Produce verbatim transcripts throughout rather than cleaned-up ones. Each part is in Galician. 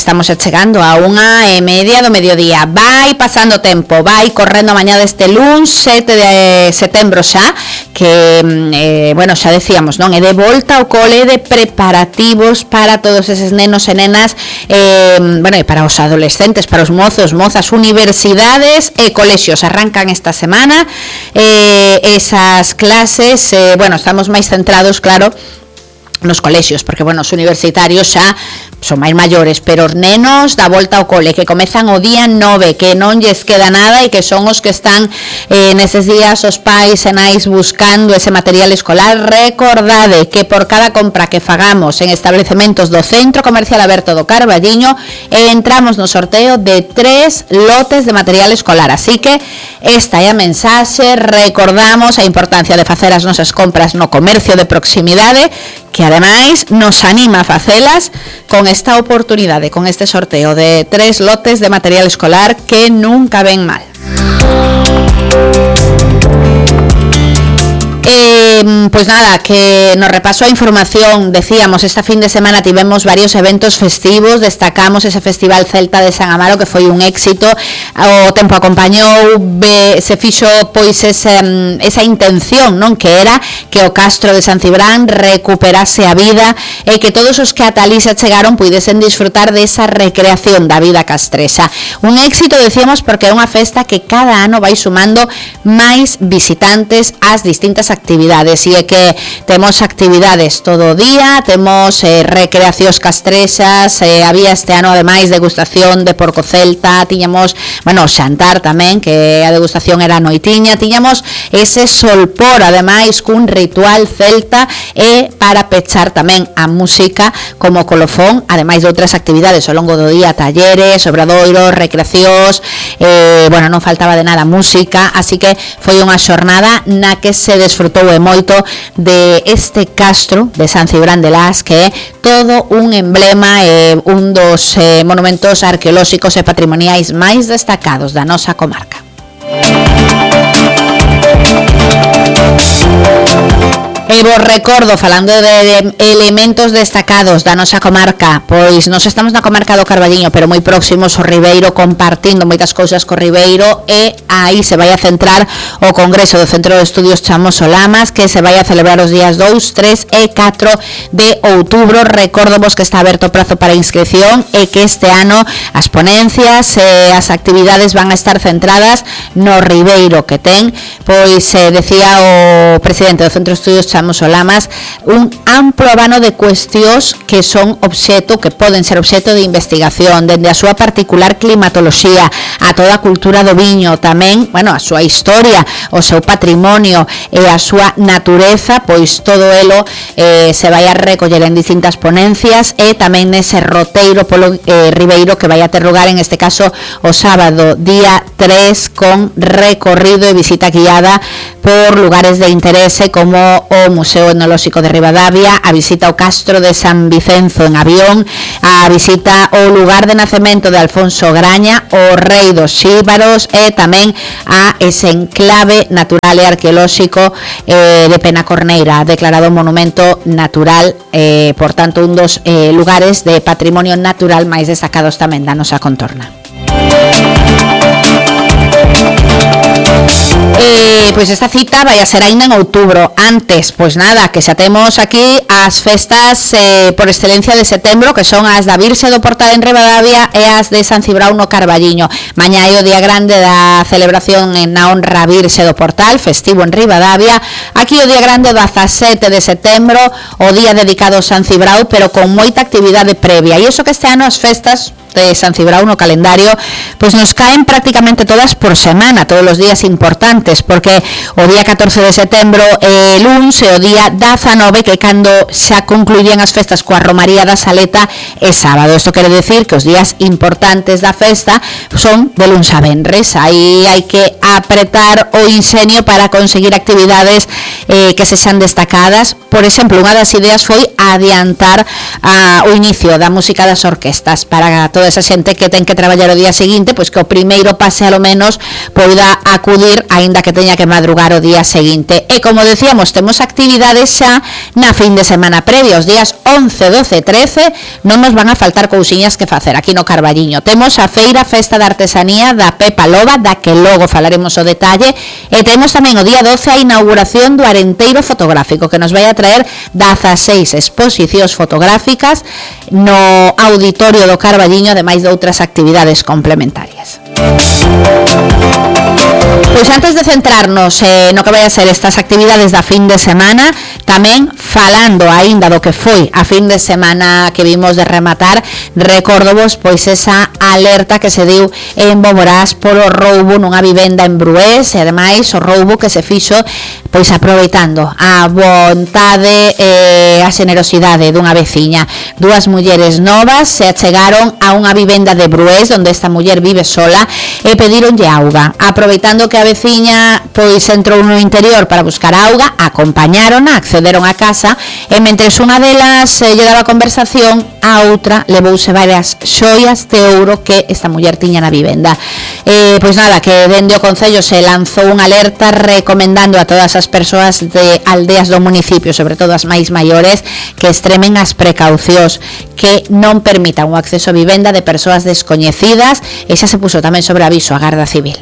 estamos chegando a unha e media do mediodía. Vai pasando tempo, vai correndo a mañá deste luns sete de setembro xa, que, eh, bueno, xa decíamos, non? É de volta ao cole, de preparativos para todos eses nenos e nenas, eh, bueno, e para os adolescentes, para os mozos, mozas, universidades e colexios. Arrancan esta semana eh, esas clases, eh, bueno, estamos máis centrados, claro, nos colexios, porque, bueno, os universitarios xa son máis maiores, pero os nenos da volta ao cole, que comezan o día nove, que non lles queda nada e que son os que están eh, neses días os pais e nais buscando ese material escolar. Recordade que por cada compra que fagamos en establecementos do Centro Comercial Aberto do Carballiño, entramos no sorteo de tres lotes de material escolar, así que esta é a mensaxe. Recordamos a importancia de facer as nosas compras no comercio de proximidade, que ademais nos anima a facelas con esta oportunidade, con este sorteo de tres lotes de material escolar que nunca ven mal. Eh, pues nada, que nos repaso a información. Decíamos, esta fin de semana tivemos varios eventos festivos. Destacamos ese Festival Celta de San Amaro, que foi un éxito. O tempo acompañou, be, se fixo pois ese, esa intención, non, que era que o Castro de San Cibrán recuperase a vida e que todos os que ata alí se chegaron puidesen disfrutar desa recreación da vida castresa. Un éxito, decíamos, porque é unha festa que cada ano vai sumando máis visitantes ás distintas actividades, e é que temos actividades todo o día, temos eh, recreacións castresas, eh, había este ano ademais degustación de porco celta, tiñamos, bueno, xantar tamén, que a degustación era noitiña, tiñamos ese solpor ademais cun ritual celta, e para pechar tamén a música como colofón, ademais de outras actividades ao longo do día, talleres, obradoiros, recreacións, eh, bueno, non faltaba de nada música, así que foi unha xornada na que se desfrutou e moito de este Castro de San Cibrán de Las, que é todo un emblema e eh, un dos eh, monumentos arqueolóxicos e patrimoniais máis destacados da nosa comarca. E vos recordo, falando de elementos destacados da nosa comarca, pois nos estamos na comarca do Carballiño, pero moi próximos ao Ribeiro, compartindo moitas cousas co Ribeiro, e aí se vai a centrar o Congreso do Centro de Estudios Chamoso Lamas, que se vai a celebrar os días dous, tres e catro de outubro. Recordo vos que está aberto o prazo para inscripción e que este ano as ponencias e as actividades van a estar centradas no Ribeiro, que ten, pois, eh, decía o presidente do Centro de Estudios Chamoso Lamas, un amplo abano de cuestións que son obxeto, que poden ser obxeto de investigación, dende a súa particular climatoloxía, a toda a cultura do viño, tamén, bueno, a súa historia, o seu patrimonio e a súa natureza, pois todo elo eh, se vai a recoller en distintas ponencias, e tamén nese roteiro polo eh, Ribeiro, que vai a ter lugar en este caso o sábado día tres, con recorrido e visita guiada por lugares de interese como o Museo Etnolóxico de Ribadavia, a visita ao Castro de San Vicenzo en avión, a visita ao lugar de nacemento de Alfonso Graña, o Rei dos Xíbaros, e tamén a ese enclave natural e arqueolóxico eh, de Penacorneira, declarado monumento natural, eh, por tanto un dos eh, lugares de patrimonio natural máis destacados tamén da nosa contorna. Eh, pois esta cita vai a ser aínda en outubro. Antes, pois nada, que xa temos aquí as festas eh, por excelencia de setembro, que son as da Virxe do Portal en Ribadavia e as de San Cibrao no Carballiño. Mañá é o día grande da celebración na honra Virxe do Portal, festivo en Ribadavia. Aquí o día grande do dezasete de setembro, o día dedicado a San Cibrao, pero con moita actividade previa. E iso que este ano as festas de San Cibrao no calendario pois nos caen prácticamente todas por semana, todos os días importantes, porque o día catorce de setembro é luns, e o día dezanove, que cando xa concluían as festas coa Romaría da Saleta, é sábado. Isto quere decir que os días importantes da festa son de luns a venres. Aí hai que apretar o inxenio para conseguir actividades eh, que sexan destacadas. Por exemplo, unha das ideas foi adiantar a, o inicio da música das orquestas para toda esa xente que ten que traballar o día seguinte, pois que o primeiro pase alo menos poida acudir aínda que teña que madrugar o día seguinte. E como decíamos, temos actividades xa na fin de semana previa, os días once, doce, trece, non nos van a faltar cousiñas que facer aquí no Carballiño. Temos a feira Festa de Artesanía da Pepa Loba, da que logo falaremos o detalle, e temos tamén o día doce a inauguración do Arenteiro Fotográfico, que nos vai a traer dezaseis exposicións fotográficas no auditorio do Carballiño, ademais de outras actividades complementarias. Pois antes de centrarnos eh, no que vai a ser estas actividades da fin de semana, tamén falando aínda do que foi a fin de semana que vimos de rematar, recordovos pois esa alerta que se deu en Boborás por o roubo nunha vivenda en Brués, e ademais o roubo que se fixo pois aproveitando a vontade e a xenerosidade dunha veciña. Dúas mulleres novas se achegaron a unha vivenda de Brués onde esta muller vive sola e pedíronlle auga. Aproveitando que a veciña pois entrou no interior para buscar auga, acompañárona, accederon a casa e mentres unha delas eh, lle daba conversación, a outra levouse varias xoias de ouro que esta muller tiña na vivenda. Eh, pois nada, que dende o Concello se lanzou unha alerta recomendando a todas as persoas de aldeas do municipio, sobre todo as máis maiores, que extremen as precaucións, que non permitan o acceso a vivenda de persoas descoñecidas, e xa se puso tamén sobre aviso a Garda Civil.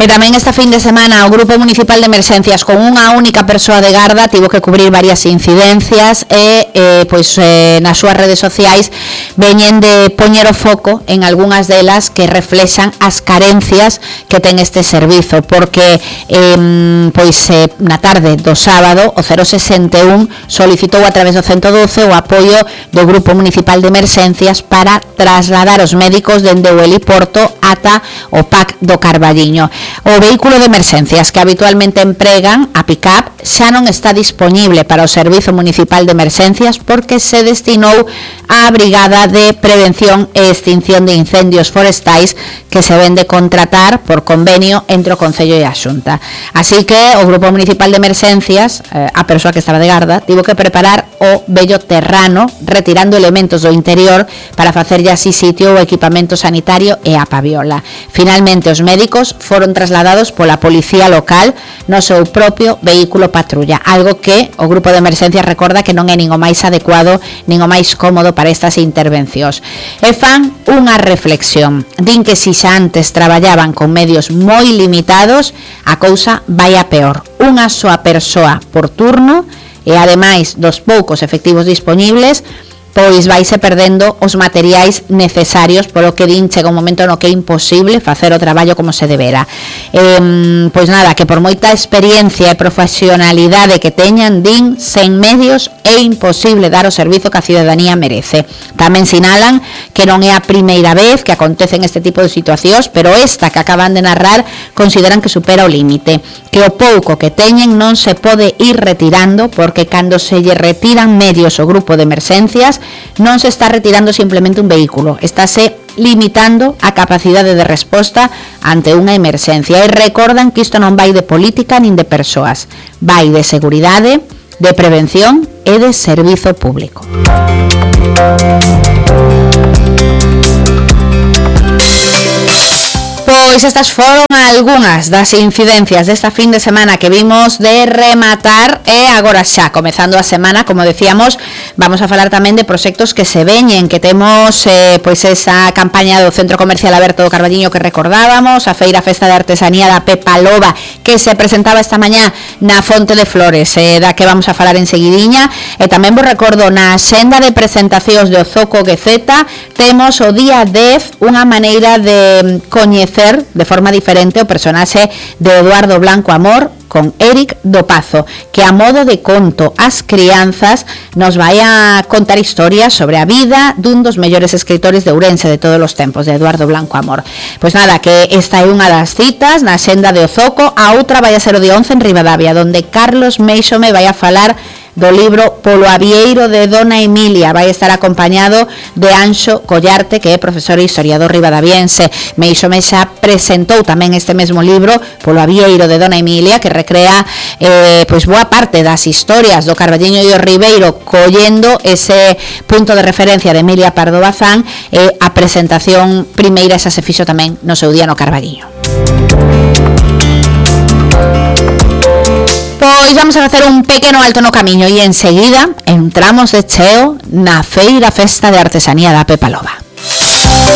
E tamén esta fin de semana o Grupo Municipal de Emerxencias con unha única persoa de garda tivo que cubrir varias incidencias e eh, pois eh, nas súas redes sociais veñen de poñer o foco en algunhas delas que reflexan as carencias que ten este servizo, porque eh, pois eh, na tarde do sábado o cero sesenta e un solicitou a través do ciento doce o apoio do Grupo Municipal de Emerxencias para trasladar os médicos dende o heliporto ata o P A C do Carballiño. O vehículo de emerxencias que habitualmente empregan, a pick-up, xa non está dispoñible para o Servizo Municipal de Emerxencias porque se destinou á Brigada de Prevención e Extinción de Incendios Forestais que se ven de contratar por convenio entre o Concello e a Xunta. Así que o Grupo Municipal de Emerxencias, eh, a persoa que estaba de garda, tivo que preparar o vello terrano retirando elementos do interior para facerlle así sitio o equipamento sanitario e a paviola. Finalmente os médicos foron trasladados pola policía local no seu propio vehículo patrulla, algo que o Grupo de Emerxencias recorda que non é nin o máis adecuado nin o máis cómodo para estas intervencións. E fan unha reflexión, din que si xa antes traballaban con medios moi limitados, a cousa vai a peor. Unha soa persoa por turno e ademais dos poucos efectivos dispoñibles, pois vaise perdendo os materiais necesarios, polo que din chega un momento no que é imposible facer o traballo como se debera. Eh, pois nada, que por moita experiencia e profesionalidade que teñan, din, sen medios é imposible dar o servizo que a cidadanía merece. Tamén sinalan que non é a primeira vez que acontecen este tipo de situacións, pero esta que acaban de narrar consideran que supera o límite, que o pouco que teñen non se pode ir retirando porque cando se lle retiran medios ao grupo de emerxencias non se está retirando simplemente un vehículo, estáse limitando a capacidade de resposta ante unha emerxencia. E recordan que isto non vai de política nin de persoas, vai de seguridade, de prevención e de servizo público. Pois estas foron algunhas das incidencias desta fin de semana que vimos de rematar, e agora xa, comezando a semana, como decíamos, vamos a falar tamén de proxectos que se veñen, que temos eh, pois esa campaña do Centro Comercial Aberto do Carballiño que recordábamos, a Feira Festa de Artesanía da Pepa Loba que se presentaba esta mañá na Fonte de Flores, eh, da que vamos a falar enseguidiña, e tamén vos recordo na xenda de presentacións de Ozoco Gueceta temos o día dez unha maneira de coñecer de forma diferente o personaxe de Eduardo Blanco Amor con Eric Dopazo, que a modo de conto ás crianzas nos vai a contar historias sobre a vida dun dos mellores escritores de Ourense de todos os tempos, de Eduardo Blanco Amor. Pois nada, que esta é unha das citas na Senda de Ozoco, a outra vai a ser o día once en Ribadavia, donde Carlos Meixome vai a falar do libro Polo Avieiro de Dona Emilia. Vai estar acompañado de Anxo Collarte, que é profesor e historiador ribadaviense. Meixome xa presentou tamén este mesmo libro, Polo Avieiro de Dona Emilia, que recrea eh, pois boa parte das historias do Carballiño e o Ribeiro, collendo ese punto de referencia de Emilia Pardo Bazán, e eh, a presentación primeira xa se fixo tamén no seu día no Carballiño. Pois vamos a facer un pequeno alto no camiño e enseguida entramos de cheo na feira Festa de Artesanía da Pepa Loba.